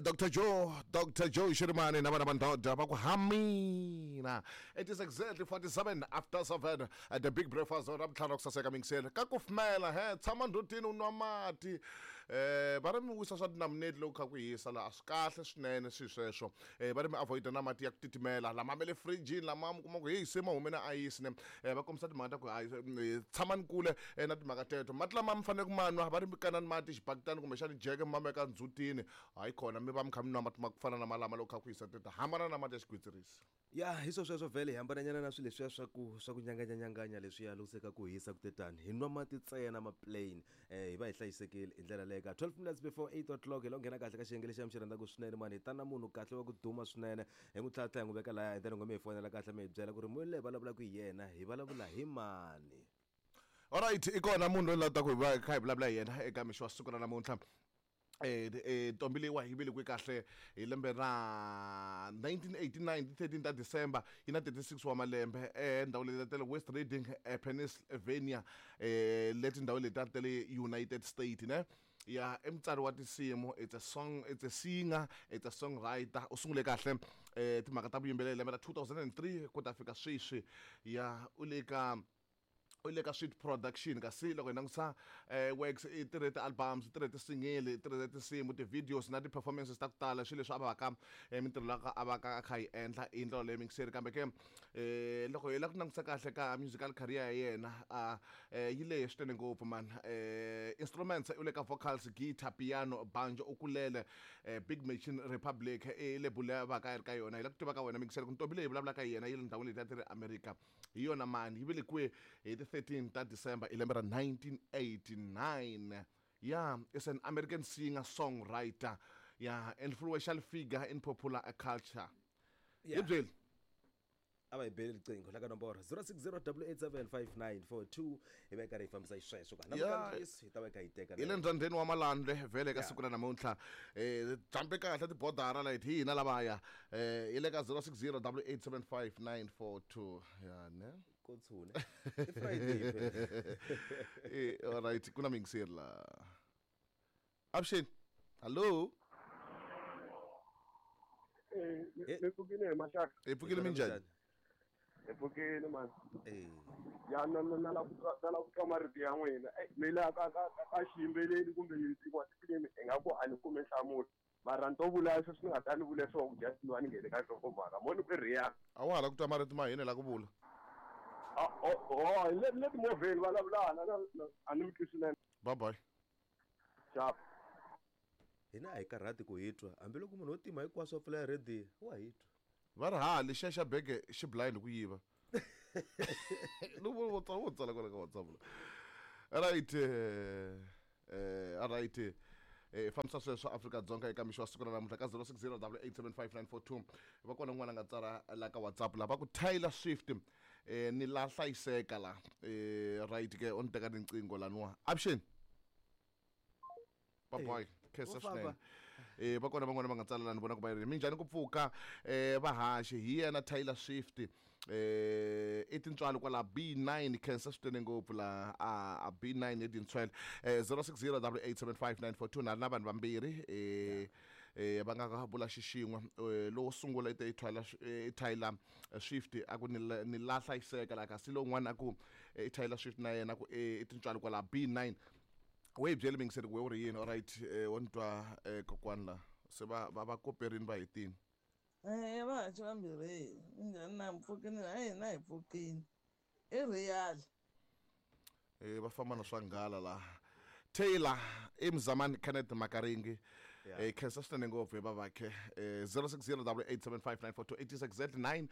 Dr Joe, Dr Joe Shirimani na vana va ndhodha va ku hamina. It is exactly 47 after 7 at the big breakfast ra vutlhanu ra ku saseka mingiseni ka kufumela he tshama ndhutini u nwa mati va ri mi wisa swa tinamuneti loko kha ku hisa laha a swi kahle swinene swilo sweswo va ri mi avoid na mati ya ku titimela lama ma le fridge lama mi kuma ku heyi se ma hume na ayisi ne va kombisa timhaka ta ku hayi tshamani kule na timhaka teto mati lama mi fanele ku ma nwa va ri mi kanani mati xibakitani kumbexani jeke mi ma veka ndzhutini hayi khona mi va mi kha mi nwa mati ma ku fana na malama loko kha ku hisa teta hambana na mati ya xigwitsirisi. Ya hi swo sweswo vhele hi hambananyana na swilo leswiya swa ku swa ku nyanganyanyanganya leswiya loko se ka ku hisa ku te tani hi nwa mati ntsena ma plain hi va hi hlayisekile hi ndlela leyo ka 12 minutes before 8 o'clock hi lo nghena kahle ka xiyenge lexiya mi xi rhandzaka swinene mani hi ta na munhu kahle wa ku duma swinene hi n'wi tlhatlha hi n'wi veka laya and then n'we mi hi fonela kahle mi hi byela ku ri munhu leyi vulavulaka hi yena hi vulavula hi mani. Alright i kona munhu loyi la ta ku hi va kha hi vulavula hi yena eka mixo wa siku ra namuntlha. Ntombi leyiwa yi velekiwe kahle hi lembe ra 1989 ti 13 ta December yi na 36 wa malembe ndhawu leyi ta le West Reading Pennsylvania leti ndhawu leti ta le United States ne ya i mutsari wa tinsimu it's a song it's a singer it's a songwriter u sungule kahle timhaka ta vuyimbeleri lembe ra 2003 ku ta fika sweswi ya u le ka u le ka Sweet Production kasi loko hi langutisa works i tirhe ti-albums i tirhe ti-single i tirhe tinsimu ti-videos na ti-performances ta ku tala swilo leswi a va ka mintirho la a va ka a kha yi endla hi ndlela leyi mingiseri kambe ke loko hi lava ku langutisa kahle ka musical career ya yena a yi lehe swinene ngopfu man instruments u le ka vocals guitar piano banjo ukulele Big Machine Republic i label leyi a va ka a ri ka yona hi la ku tiva ka wena mingiseri ku ntombi leyi vulavulaka hi yena yi le ndhawini leti a ti ri America Hi yona mani yi velekiwe hi ti 13 ta December hi lembe ra 1989. Yeah, is an American singer songwriter. Yeah, influential figure in popular culture. Yeah. Hi byeli. A va hi beli riqingho la ka nomboro 0608875942 hi va hi karhi hi fambisa xisweswo ka Yeah. namuntlha hi ta va hi kha hi teka hi le ndzhandzheni wa malandle vhele ka Yeah. siku ra namuntlha jambe kahle tibodara leti hi hina lavaya hi le ka 060 8875942 ya ne ko tshune i Friday phela. Alright ku na miyingiseri la avuxeni hallo. Mi pfukile hi maxaka. Hi pfukile minjhani? Hi pfukile mani. Ya na na na la ku na la ku twa marito ya n'wina. Mi la ka ka ka xiyimbeleri kumbe tin'wana tifilimi ingaku a ni kumi nhlamulo. Mara ni to vula sweswi ni nga ta ni vule swona ku just ni va ni nghene ka nhlokomhaka. Mo ni ku i Rihanna. A wa ha la ku twa marito ma hina la ku vula. Oh, le le timovheni vulavulana na a ni mi twi swinene. Bye bye. Sharp. Hina a hi karhati ku hi twa hambiloko munhu wo tima hinkwaswo a pfula rhediyo wa hi twa. Va ri ha lexiya xa bege xi blind ku yiva. Ni vo vo tsala vo tsala kwala ka WhatsApp la. Right alright fambisa sweswo Afrika-Dzonga eka mixo wa siku ra namuntlha ka 060 8875942 va kona un'wana a nga tsala la ka WhatsApp la va ku Taylor Swift ni la hlayiseka la right ke o ni teka riqingho laniwa avuxeni. Baboy khensa Wo famba. swinene va kona van'wana va nga tsala la ni vona ku va ri minjhani ku pfuka vahaxi hi yena Taylor Swift i tintswalo kwala B9 khensa swinene ngopfu la a B9 hi tintswele 060 8875942 na ri na vanhu vambirhi va nga vula xixin'we lowo sungula i te i Taylor i Taylor Swift a ku ni la hlayiseka la kasi lowun'wana a ku i Taylor Swift na yena ku i tintswalo kwala B9 we hi byeli mingiseri ku we u ri yini alright wo ni twa kokwani la se va va va koperini va hetini. Va haxi vambirhi minjhani na pfukini na hina hi pfukini i real. Va famba na swa nghala la Taylor i Mzamani Kenneth Makaringi khensa swinene ngopfu hi vavakhe 060 8875942 it is exactly 9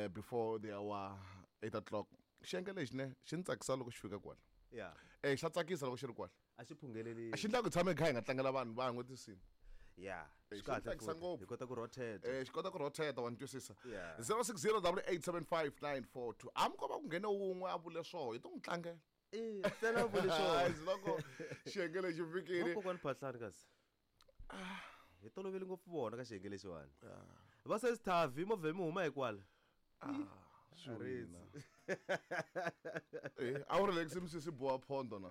before the hour 8 o'clock xiyenge lexi ne xi ni tsakisa loko xi fika kwala. Ya. Xa tsakisa loko xi ri kwala. A xi phungeleli. A xi endla ku hi tshama hi kha hi nga tlangela vanhu van'we tinsimu. Ya. Xi Swi kahle tsakisa futhi. ngopfu. Hi kota ku rotate. Xi kota ku rotate wa ni twisisa. Yeah. 060 8875942. Hambi ko va ku nghene wun'we a vule swoho hi to n'wi tlangela. Ntsena a vule swoho. Hayi, loko xiyenge lexi fikile. Vakokwani Phahlani kasi. Hi tolovele ngopfu vona ka xiyenge lexiwani. Va se Thavi movha mi huma hi kwala. Swi wina. A wu relax misisi boha phondo na.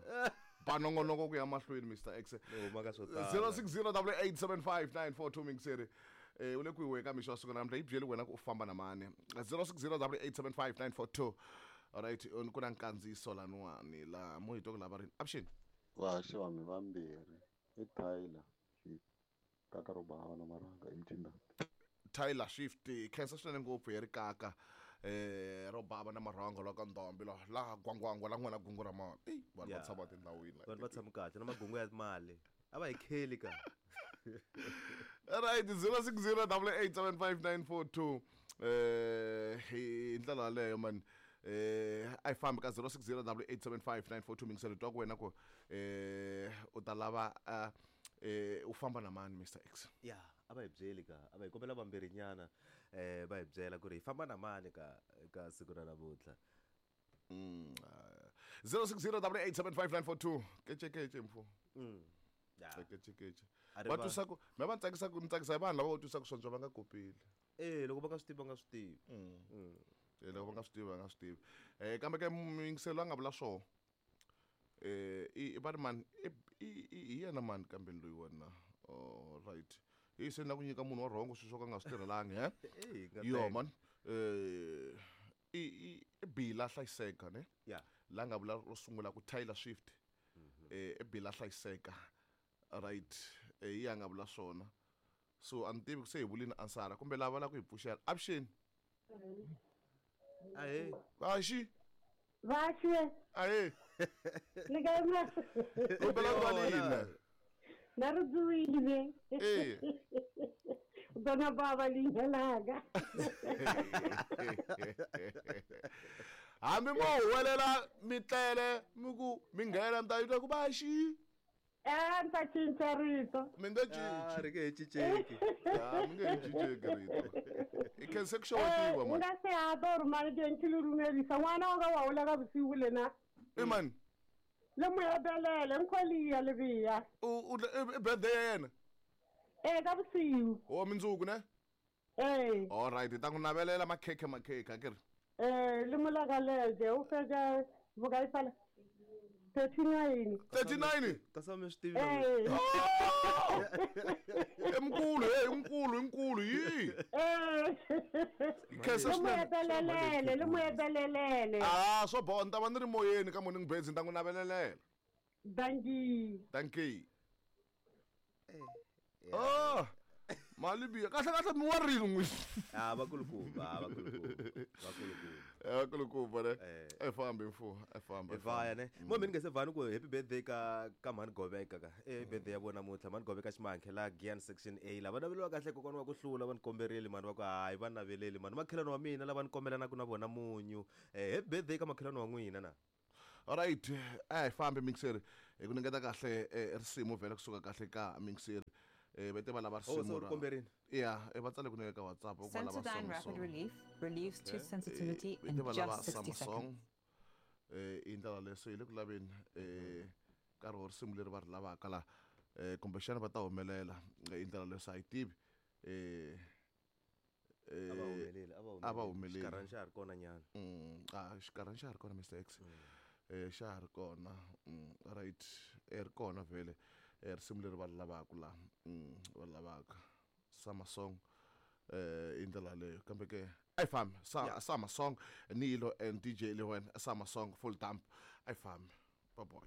Ba nongonoko ku ya mahlweni Mr X. Ni huma ka swo tala. 0608875942 mingiseri. U le kwihi ka mixo wa siku namuntlha? Yi byeli wena ku u famba na mani. 0608875942. Alright, ku na nkandziyiso laniwani la mo hi twa ku lava rini. Avuxeni. Vahaxi vanhu vambirhi i Tyler Swift kaka ro bava na marhanga i mutshindani. Tyler Swift khensa swinene ngopfu hi ri kaka ro bava na marhango la ka ndombi la laha gwangwangwa la n'wana gungu ra mali. Ey, vanhu va tshama tindhawini la. Vanhu va tshama kahle na magungu ya mali a va hi kheli ka. Right, 0608875942 hi ndlela yaleyo man. A yi fambi ka 0608875942 mingiselo twa ku wena ku u ta lava u famba na mani Mr X. Ya, a va hi byeli ka, a va hi kombela vambirhi nyana va hi byela ku ri hi famba na mani ka ka siku ra namuntlha. 0608875942 kece kece mfo. Ya. Kece kece. A ri Va va- twisa ku me va tsakisa ku ni tsakisa hi vanhu lava va twisa ku swondzo va nga kopeli. Loko va nga swi tivi va nga swi tivi. Loko va nga swi tivi va nga swi tivi. Kambe ke muyingiselo a nga vula swoho. I va ri mani i hi yena mani kambe loyi wena. Oh, right. Hi se ni la ku nyika munhu wa rhongo swilo swo ka nga swi tirhelangi he. Eh, nga Yo teka. man. I Bila hlayiseka ne? Ya. La nga vula ro sungula ku Tyler Swift. I Bila hlayiseka. Right. Hi ya nga vula swona. So a ni tivi ku se hi vulini ansara kumbe lava la ku hi pfuxela. Avuxeni. Ahee. Vaxi. Vaxi. Ahee. Le kae ma? Kombela ku va lina. Na ri dzuwile. Eh. Dona baba leina laka. Hambi mo huwelela mi tlele mi ku mi nghena mi ta yi twa ku vaxi. Ni ta cinca rito. Mi nge cinci. Ah, ri nge he cinceki. Ah, mi nge he cinceki rito. I khense ku xewetiwa Ni man. nga se ha to ri mani ke ntshile lumelisa n'wana wa ka wa hula ka vusiku lena. I mani? Le Moyabelele nkholiya lebiya. U i birthday ya yena? Ka vusiku. O mindzuku ne? Eh. All right, hi ta n'wi navelela makhekhe makhekhe a ke ri. Le molakaleke u fetsa bokae fela? 39. 39? Kasi mi swi tivi. Eh. I mukulu, hey, i mukulu, yi. Eh. Khensa Le swinene. Moyabelele, le Moyabelele. Ah, swo boha ni ta va ni ri moyeni ka Morning Birds ni ta n'wi navelelela. Dankie. Dankie. Oh, mali biya. Kahle kahle mi wa rini n'wi? Ah, vakulukumba, ah, vakulukumba. Vakulukumba. Vakulukumba ne. E fambi mfo, e fambi. E vaya ne. Mo mi ni nge se vani ku happy birthday ka mhani Goveka ka. Birthday ya vona namuntlha mhani Goveka Ximankhe la Gian section A la va naveliwa kahle kokwana wa ku hlula va ni komberile mhani va ku hayi va naveleli mhani makhelwani wa mina lava ni kombelanaka na vona munyu. Happy birthday ka makhelwani wa n'wina na. All right, a hi fambi mixer. Hi ku ningeta kahle risimu vhele kusuka kahle ka mixer. Va te va lava Oh, se risimu u ri komberile? Ya, va tsale ku neka ka WhatsApp va ku va lava Sensodyne song Rapid song. Relief relieves tooth sensitivity Va in te va lava just 60 summer seconds. song. I ndlela leyo so hi le ku laveni nkarhi wa risimu leri va ri lavaka la. Kumbexana va ta humelela hi ndlela leyo so a hi tivi. A va humeleli, a va A va humeleli. humeleli. Xikarhana xa ha ri kona nyana. Xikarhana xa ha ri kona Mr X. Xa ha ri kona. Right. Ri kona vhele. Risimu leri va ri lavaka la. Va ri lavaka. Summer song. I ndlela yaleyo kambe ke a yi fambi. Summer song Nilo and DJ Lewen Summer song full dump. A yi fambi. Bye boy.